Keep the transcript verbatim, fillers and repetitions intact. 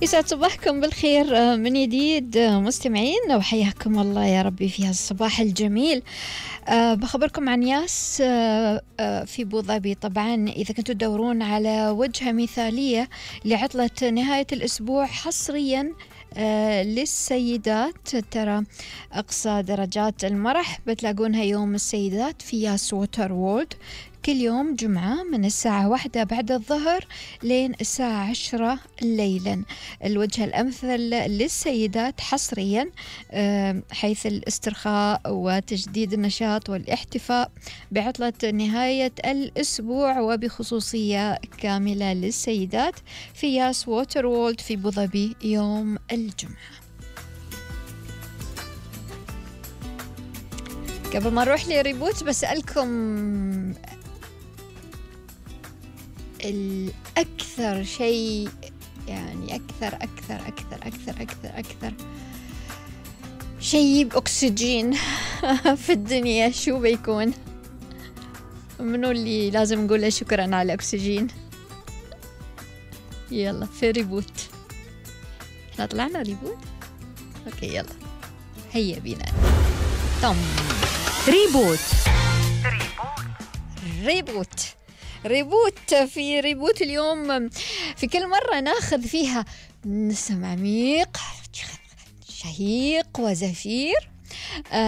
يسعد صباحكم بالخير من جديد مستمعين، وحياكم الله يا ربي في هالصباح الجميل. أه بخبركم عن ياس أه أه في أبو ظبي. طبعا إذا كنتوا تدورون على وجهة مثالية لعطلة نهاية الأسبوع حصريا أه للسيدات، ترى أقصى درجات المرح بتلاقونها يوم السيدات في ياس ووتر وورلد كل يوم جمعة من الساعة واحدة بعد الظهر لين الساعة عشرة ليلا. الوجهة الأمثل للسيدات حصريا حيث الاسترخاء وتجديد النشاط والاحتفاء بعطلة نهاية الأسبوع، وبخصوصية كاملة للسيدات في ياس ووتر وورلد في أبو ظبي يوم الجمعة. قبل ما نروح لريبوت بسألكم الأكثر شيء، يعني أكثر أكثر أكثر أكثر أكثر أكثر شيء بأكسجين في الدنيا شو بيكون؟ منو اللي لازم نقول له شكرا على الأكسجين؟ يلا في ريبوت. احنا طلعنا ريبوت؟ اوكي يلا هيا بينا. طم ريبوت ريبوت ريبوت في ريبوت اليوم في كل مرة ناخذ فيها نسم عميق شهيق وزفير.